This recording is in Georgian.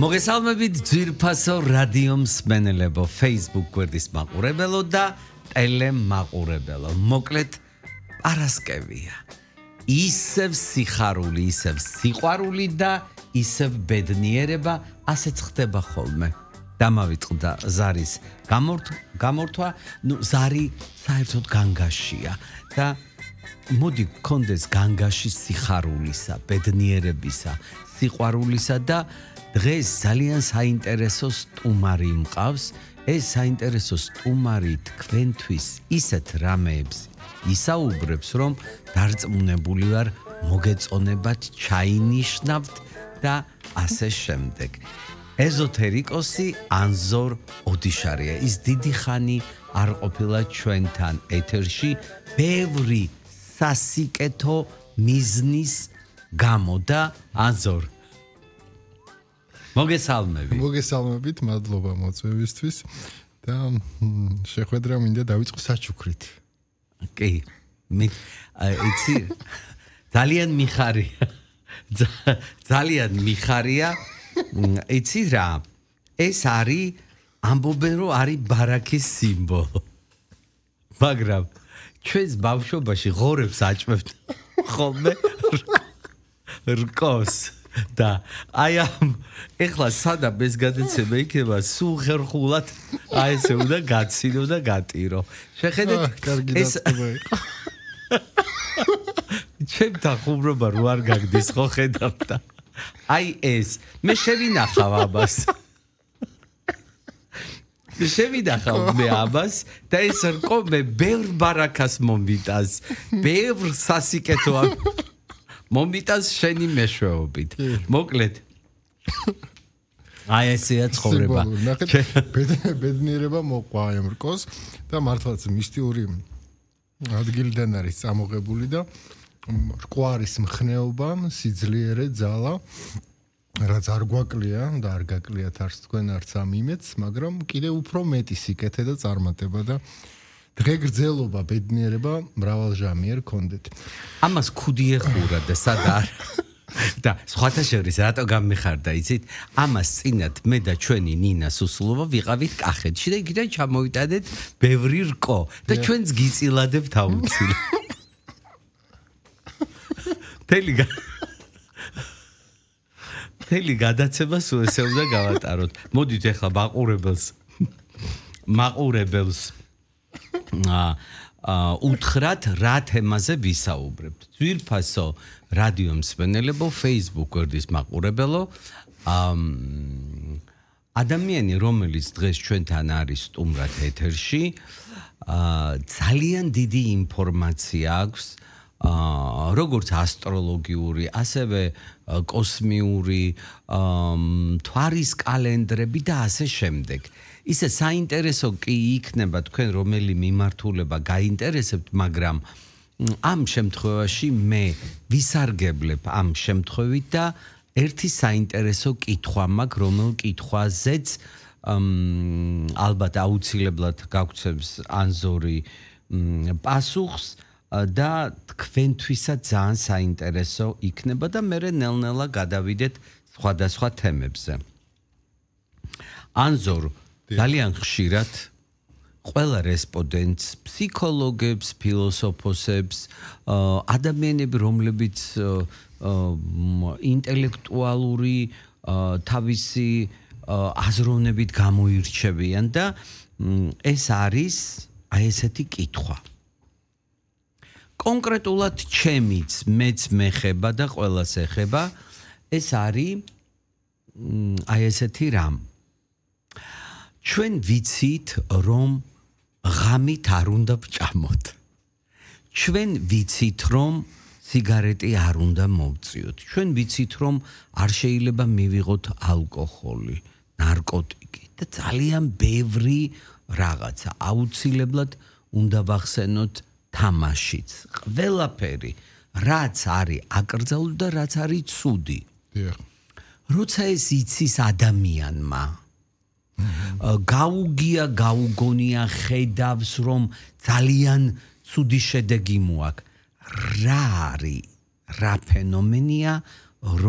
მოგესალმებით ძვირფასო რადიო მსმენელებო, Facebook გვერდის მაყურებელო და ტელემაყურებელო. მოკლედ პარასკევია. ისევ სიხარული, ისევ სიყვარული და ისევ ბედნიერება, ასეც ხდება ხოლმე. დამავიწყდა ზარის გამორთვა, ზარი საერთოდ განგაშია და მოდი გქონდეს განგაში სიხარულისა, ბედნიერებისა, სიყვარულისა და დღეს ძალიან საინტერესო სტუმარი მყავს. ეს საინტერესო სტუმარი თქვენთვის ისეთ რამეებს ისაუბრებს, რომ დარწმუნებული ვარ, მოგეწონებათ, ჩაინიშნავთ და ასე შემდეგ. ეზოთერიკოსი ანზორ ოდიშარია. ის დიდი ხანი არ ყოფილა ჩვენთან ეთერში, ბევრი სასიკეთო მიზნის გამო და ანზორ მოგესალმებით, მადლობა მოწვევისთვის და შეხვედრა მინდა დავიწყო საჩუქრით. კი, იცი, ძალიან მიხარია. იცი რა, ეს არის ამბობენ რომ არის ბარაქის სიმბოლო. მაგრამ ჩვენს ბავშვობაში ღორებს აჭმევთ ხოლმე რკოს. და აი ამ ეხლა სადამ ეს გადაცემა იქნება, სულ ხერხულად აი ესე უნდა გაცინო და გატირო. შეხედეთ ეს ჩემთან ხუმრობა რო არ გაგდის ხო ხედავთ და აი ეს მე შევინახავ ამას. მე ამას და ეს რკო მე ბევრ ბარაქას მომიტანს, ბევრ სასიკეთო მომიტანს შენი მეშვეობით. მოკლედ აი ესეა ცხოვრება. ბედნიერება მოყვა ამ რკოს და მართლაც მისტიური ადგილიდან არის წამოღებული და რკო არის მხნეობა, სიძლიერე, ძალა, რაც არ გვაკლია და არ გაკლიათ არც თქვენ არც ამ იმედს, მაგრამ კიდევ უფრო მეტი სიკეთე და წარმატება და დღეგრძელობა, ბედნიერება მრავალჟამიერ გქონდეთ. ამას ქუდი ეხურა და სადა და სხვათა შორის რატო გამიხარდა, იცით? ამას წინათ მე და ჩვენი ნინა სუსლოვა ვიყავით კახეთში და იქიდან ჩამოვიტანეთ ბევრი რკო და ჩვენც გიწილადებთ აუცილებლად. თელი გადაცემა სულ ესე უნდა გავატაროთ. მოდით ახლა მაყურებელს უთხრათ რა თემაზე ვისაუბრებთ. ძვირფასო რადიო მსმენელებო, Facebook გვერდის მაყურებელო, ადამიანი, რომელიც დღეს ჩვენთან არის სტუმრად ეთერში, ძალიან დიდი ინფორმაცია აქვს, როგორც ასტროლოგიური, ასევე კოსმიური, თვარის კალენდრები და ასე შემდეგ. ისე საინტერესო კი იქნება თქვენ რომელი მიმართულება გაინტერესებთ, მაგრამ ამ შემთხვევაში მე ვისარგებლებ ამ შემთხვევით და ერთი საინტერესო კითხვა მაქვს, რომელ კითხვაზეც ალბათ აუცილებლად გაგცემს ანზორი პასუხს და თქვენთვისაც ძალიან საინტერესო იქნება და მე ნელ-ნელა გადავიდეთ სხვადასხვა თემებზე. ანზორ ძალიან ხშირად ყველა რესპონდენტს, ფსიქოლოგებს, ფილოსოფოსებს, ადამიანები, რომლებიც ინტელექტუალური თავისი აზროვნებით გამოირჩევიან და ეს არის აი ესეთი კითხვა. კონკრეტულად ჩემიც, მეც მეხება და ყველას ეხება, ეს არის აი ესეთი რამ. ჩვენ ვიცით, რომ ღამით არ უნდა ვჭამოთ. ჩვენ ვიცით, რომ სიგარეტი არ უნდა მოვწიოთ. ჩვენ ვიცით, რომ არ შეიძლება მივიღოთ ალკოჰოლი, ნარკოტიკი და ძალიან ბევრი რაღაცა. აუცილებლად უნდა ვახსენოთ თამაშიც. ყველაფერი, რაც არის აკრძალული და რაც არის ცუდი. როცა ეს იცის ადამიანმა, გაუგონია, ხედავს, რომ ძალიან ცუდი შედეგი მოაქვს. რა არის, რა ფენომენია, რომ